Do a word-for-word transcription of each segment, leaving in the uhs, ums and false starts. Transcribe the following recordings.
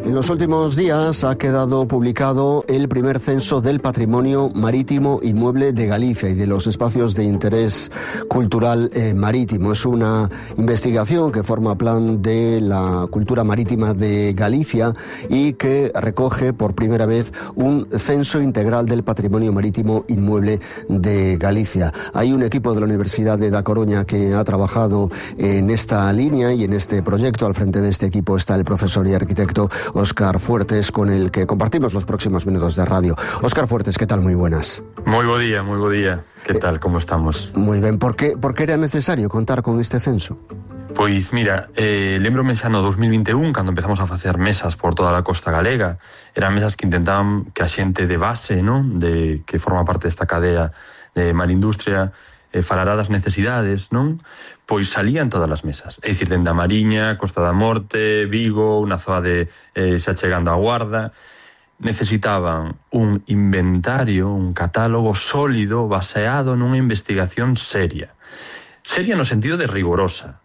En los últimos días ha quedado publicado el primer censo del patrimonio marítimo inmueble de Galicia y de los espacios de interés cultural eh, marítimo. Es una investigación que forma plan de la cultura marítima de Galicia y que recoge por primera vez un censo integral del patrimonio marítimo inmueble de Galicia. Hay un equipo de la Universidad de Da Coruña que ha trabajado en esta línea y en este proyecto. Al frente de este equipo está el profesor y arquitecto Óscar Fuertes, con el que compartimos los próximos minutos de radio. Óscar Fuertes, ¿qué tal? Muy buenas. Muy buen día, muy buen día. ¿Qué tal? Eh, ¿Cómo estamos? Muy ben. Por que, por que era necesario contar con este censo? Pois mira, eh, lembro-me xa no dos mil vinte e un, cando empezamos a facer mesas por toda a costa galega. Eran mesas que intentaban que a xente de base, non, de que forma parte desta cadea de Marindustria, eh, falará das necesidades, non? Pois salían todas as mesas, é dicir, dende a Mariña, Costa da Morte, Vigo, unha zoa de eh, xa chegando a Guarda. Necesitaban un inventario, un catálogo sólido baseado nunha investigación seria. Seria no sentido de rigorosa.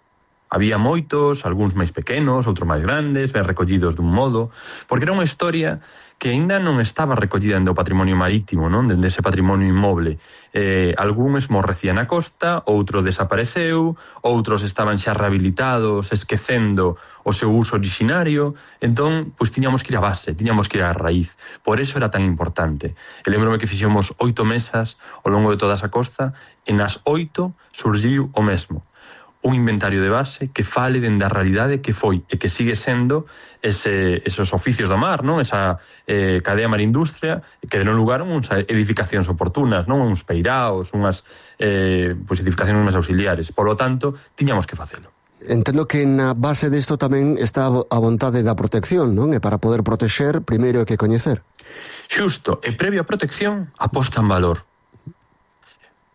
Había moitos, algúns máis pequenos, outros máis grandes, ben recollidos dun modo, porque era unha historia que aínda non estaba recollida en do patrimonio marítimo, non? Dende ese patrimonio inmoble. Eh, algúns morrecían na costa, outro desapareceu, outros estaban xa rehabilitados, esquecendo o seu uso originario. Entón, pois tiñamos que ir a base, tiñamos que ir á raíz. Por eso era tan importante. E lembro-me que fixemos oito mesas ao longo de toda esa costa, e nas oito surgiu o mesmo. Un inventario de base que fale dende a realidade que foi e que sigue sendo ese, esos oficios do mar, non? Esa eh, cadea Marindustria que deron lugar a uns edificacións oportunas, non? Uns peiraos, unhas eh, pues, edificacións máis auxiliares. Por lo tanto, tiñamos que facelo. Entendo que na base disto tamén está a vontade da protección, non? E para poder protexer, primeiro hai que coñecer. Xusto, e previo a protección, aposta en valor.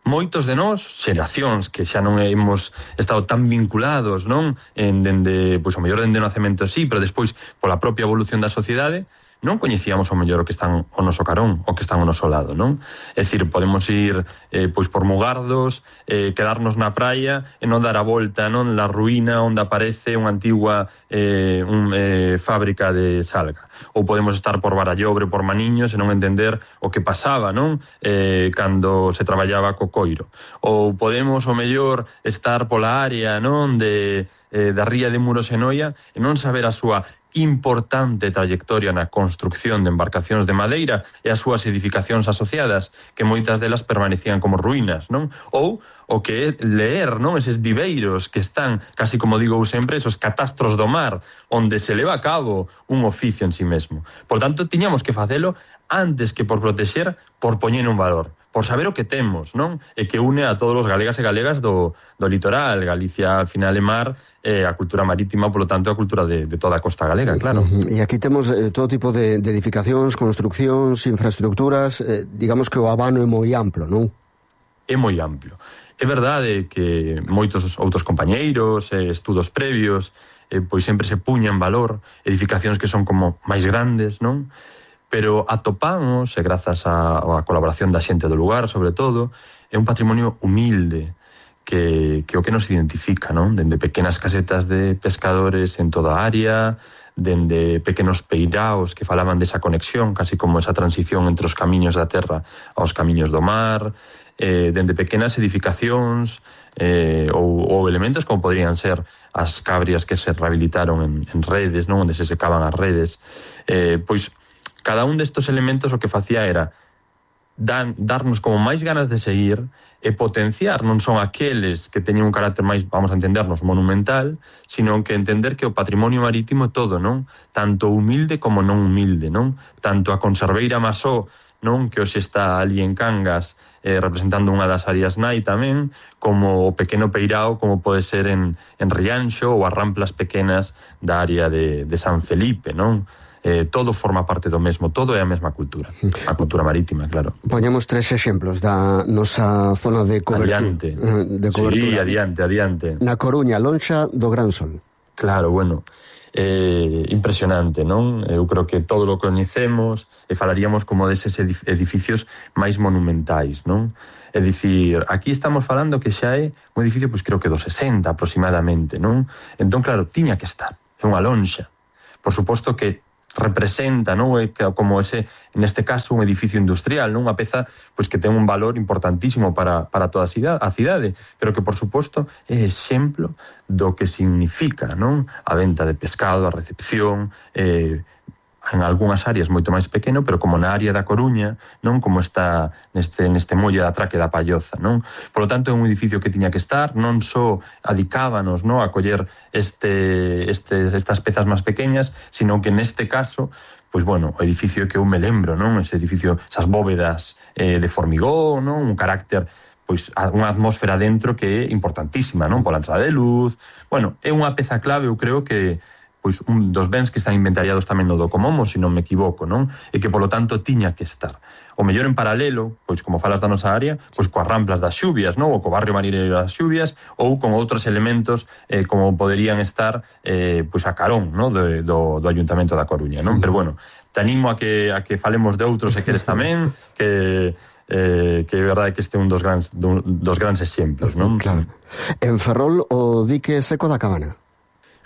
Moitos de nós, xeracións que xa non hemos estado tan vinculados, non? En dende, pois o mellor dende o nacemento sí, pero despois pola propia evolución da sociedade, non coñecíamos o mellor o que están o noso carón, o que están o noso lado, non? É dicir, podemos ir eh, pois por Mugardos, eh, quedarnos na praia e non dar a volta, non? La ruína onde aparece unha antigua eh, un, eh, fábrica de salga. Ou podemos estar por Barallobre, por Maniños e non entender o que pasaba, non? Eh, cando se traballaba co coiro. Ou podemos, o mellor, estar pola área, non? De, eh, da ría de Muros e Noia e non saber a súa importante trayectoria na construcción de embarcacións de madeira e as súas edificacións asociadas, que moitas delas permanecían como ruínas, non? Ou o que é leer, non? Eses viveiros que están, casi como digo sempre, esos catastros do mar, onde se leva a cabo un oficio en sí mesmo. Por tanto, tiñamos que facelo antes que por protexer, por poñer un valor, por saber o que temos, non? E que une a todos os galegas e galegas do, do litoral. Galicia, al final, é mar, eh, a cultura marítima, polo tanto, a cultura de, de toda a costa galega, claro. E aquí temos eh, todo tipo de, de edificacións, construccións, infraestructuras, eh, digamos que o abano é moi amplo, non? É moi amplo. É verdade que moitos outros compañeiros, eh, estudos previos, eh, pois sempre se puñan valor, edificacións que son como máis grandes, non? Pero atopamos, e grazas á colaboración da xente do lugar, sobre todo, é un patrimonio humilde, que, que o que nos identifica, non? Dende pequenas casetas de pescadores en toda a área, dende pequenos peiraos que falaban desa conexión, casi como esa transición entre os camiños da terra aos camiños do mar, eh, dende pequenas edificacións eh, ou, ou elementos como podrían ser as cabrias que se rehabilitaron en, en redes, non? Onde se secaban as redes. Eh, pois, cada un destes elementos o que facía era dan, darnos como máis ganas de seguir e potenciar, non son aqueles que teñen un carácter máis, vamos a entendernos, monumental, sino que entender que o patrimonio marítimo é todo, non? Tanto humilde como non humilde, non? Tanto a conserveira Masó, non? Que hoxe está ali en Cangas, eh, representando unha das áreas nai tamén, como o pequeno peirao, como pode ser en, en Rianxo, ou as ramplas pequenas da área de, de San Felipe, non? Eh, todo forma parte do mesmo, todo é a mesma cultura, a cultura marítima, claro. Poñamos tres exemplos da nosa zona de cobertura. Adiante, de cobertura. Sí, adiante, adiante. Na Coruña, lonxa do Gran Sol. Claro, bueno, eh, impresionante, non? Eu creo que todo lo coñecemos e falaríamos como deses edificios máis monumentais, non? É dicir, aquí estamos falando que xa é un edificio, pois creo que do sesenta aproximadamente, non? Entón, claro, tiña que estar, é unha lonxa. Por suposto que representa, non, como ese, neste caso, un edificio industrial, non, unha peza pois que ten un valor importantísimo para, para toda a cidade, a cidade, pero que, por suposto, é exemplo do que significa, non, a venta de pescado, a recepción, eh, en algunhas áreas moito máis pequeno, pero como na área da Coruña, non, como está neste, neste molle da Traque da Palloza, non? Por lo tanto, é un edificio que tiña que estar, non só adicábanos, non, a coller este, este, estas pezas máis pequeñas, sino que neste caso, pois bueno, o edificio que eu me lembro, non? Ese edificio, esas bóvedas eh, de formigón, non? Un carácter, pois unha atmósfera dentro que é importantísima, non? Pola entrada de luz. Bueno, é unha peza clave, eu creo que pois un dos bens que están inventariados tamén no Docomomo, se non me equivoco, non? E que, polo tanto, tiña que estar. O mellor en paralelo, pois como falas da nosa área, pois coas ramplas das xubias, non? Ou co barrio marineiro das xubias, ou con outros elementos eh, como poderían estar eh, pois a carón, non? Do, do, do Ayuntamento da Coruña, non? Pero, bueno, te animo a que, a que falemos de outros se queres tamén, que... Eh, que é verdade que este é un dos grandes, dos grandes exemplos, non? Claro. En Ferrol, o dique seco da Cabana?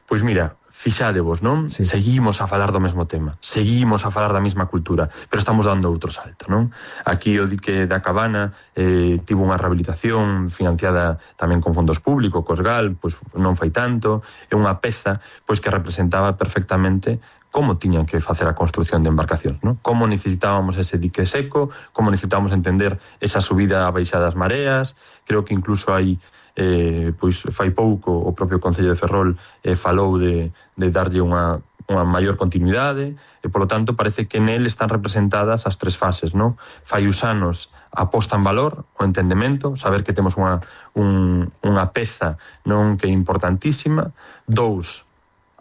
Pois mira, fixádevos, non? Sí. Seguimos a falar do mesmo tema, seguimos a falar da mesma cultura, pero estamos dando outro salto, non? Aquí o dique da Cabana eh, tivo unha rehabilitación financiada tamén con fondos públicos, cos Gal, pois non fai tanto, é unha peza pois que representaba perfectamente como tiñan que facer a construción de embarcacións, non? Como necesitábamos ese dique seco, como necesitábamos entender esa subida a baixa das mareas. Creo que incluso hai eh, pois fai pouco o propio Concello de Ferrol eh, falou de, de darlle unha, unha maior continuidade, e polo tanto parece que nel están representadas as tres fases, non? Fai uns anos a posta en valor, o entendemento, saber que temos unha, un, unha peza non que é importantísima. Dous,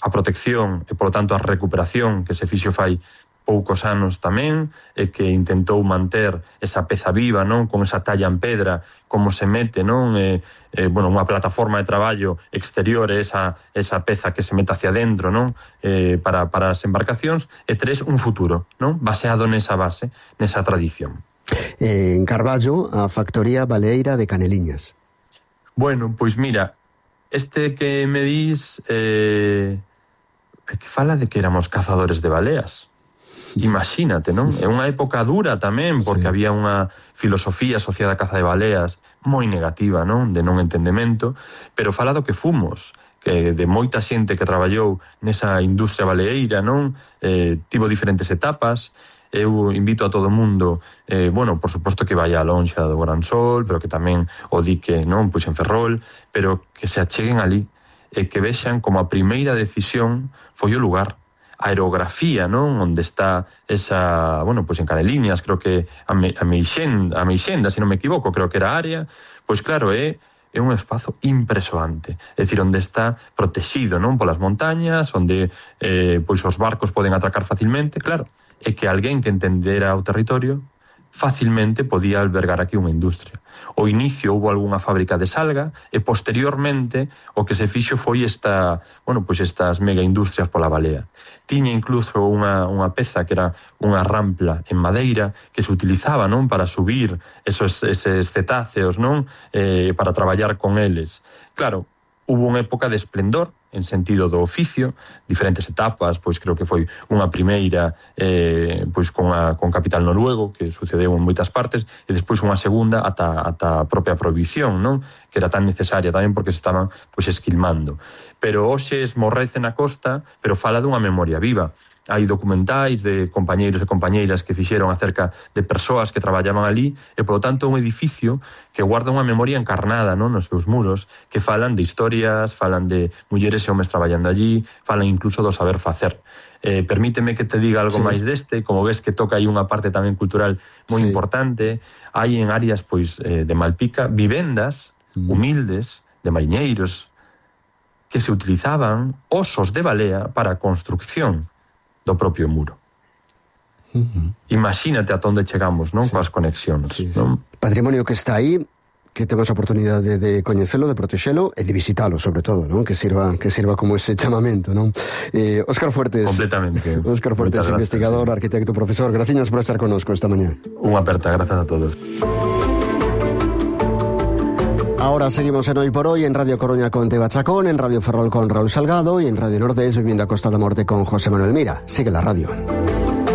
a protección e, polo tanto, a recuperación que se fixo fai poucos anos tamén, e que intentou manter esa peza viva, non, con esa talla en pedra, como se mete, non, e, e, bueno, unha plataforma de traballo exterior, esa, esa peza que se mete hacia dentro, non, eh, para, para as embarcacións. E tres, un futuro, non, baseado nesa base, nesa tradición. Eh, en Carballo, a factoría baleeira de Caneliñas. Bueno, pois mira, este que me dis... Eh, que fala de que éramos cazadores de baleas. Imagínate, non? É unha época dura tamén, porque sí, había unha filosofía asociada á caza de baleas moi negativa, non? De non entendemento, pero fala do que fomos, que de moita xente que traballou nesa industria baleeira, non? Eh, tivo diferentes etapas. Eu invito a todo o mundo, eh, bueno, por suposto que vai a lonxa do Gran Sol, pero que tamén o dique, non? Pois en Ferrol, pero que se acheguen ali e que vexan como a primeira decisión foi o lugar, a aerografía, non? Onde está esa, bueno, pois en Caneliñas, creo que a, me, a, Meixenda, a Meixenda, se non me equivoco, creo que era a área, pois claro, é, é un espazo impresionante, é dicir, onde está protegido, non? Polas montañas, onde eh, pois os barcos poden atracar facilmente, claro, é que alguén que entendera o territorio facilmente podía albergar aquí unha industria. O inicio houve algunha fábrica de salga e posteriormente o que se fixo foi esta, bueno, pois estas mega industrias pola balea. Tiña incluso unha, unha peza que era unha rampla en madeira que se utilizaba, non, para subir esos, eses cetáceos, non, eh, para traballar con eles. Claro, hubo unha época de esplendor en sentido do oficio, diferentes etapas, pois creo que foi unha primeira eh, pois con, a, con capital noruego, que sucedeu en moitas partes, e despois unha segunda ata, ata a propia prohibición, non? Que era tan necesaria tamén porque se estaban pois esquilmando. Pero hoxe esmorrece na costa, pero fala dunha memoria viva. Hai documentais de compañeiros e compañeiras que fixeron acerca de persoas que traballaban ali, e, polo tanto, un edificio que guarda unha memoria encarnada, non, nos seus muros, que falan de historias, falan de mulleres e homes traballando allí, falan incluso do saber facer. Eh, permíteme que te diga algo sí. máis deste, como ves que toca aí unha parte tamén cultural moi sí. importante. Hai en áreas pois eh, de Malpica vivendas mm. humildes, de mariñeiros, que se utilizaban osos de balea para a construcción do propio muro. Uh-huh. Imagínate a onde chegamos, non? Sí. Coas conexións, sí, non? Sí. Patrimonio que está aí, que temos a oportunidade de coñecelo, de protexelo e de visitalo, sobre todo, non? Que sirva que sirva como ese chamamento, non? Eh, Óscar Fuertes. Completamente. Óscar Fuertes, investigador, arquitecto, profesor. Gracias por estar connosco esta mañá. Unha aperta, grazas a todos. Ahora seguimos en Hoy por Hoy, en Radio Coruña con Teba Chacón, en Radio Ferrol con Raúl Salgado y en Radio Nordés Vivienda Costa da Morte con José Manuel Mira. Sigue la radio.